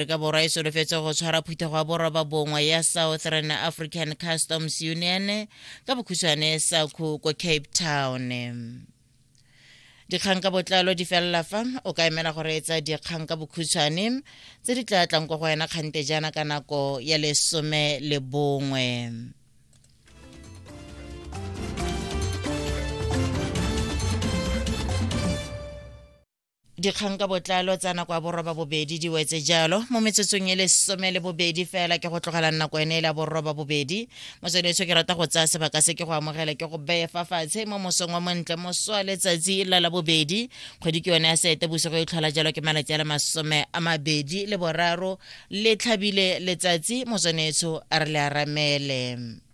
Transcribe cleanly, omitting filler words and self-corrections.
Afrika Borwa e solofetse go tshwara phuthego ya boroba bongwe ya Southern African Customs Union ka bokhutshwane SACU ko Cape Town. Dikgang ka botlalo di felela fa o ka emela go reetsa dikgang ka bokhutshwane tse di tla tlang kwa go wena kgante jaana ka nako ya 11. Dikgang ka botlalo tsa nako ya 8:30 di wetse jalo mo metsotsong e 12 fela ke go tlogela nako ene e la 8:30. Motswedetso, ke rata go tsaya sebaka se ke go amogele, ke go beye fa fatshe mo mosong wa montle moso wa letsatsi la la bobedi, kgwedi ke yone ya Sete Bosigo e tlhola jalo ke malatsi a le 23 le tlhabile letsatsi. Motswanetsho, a re le aramele.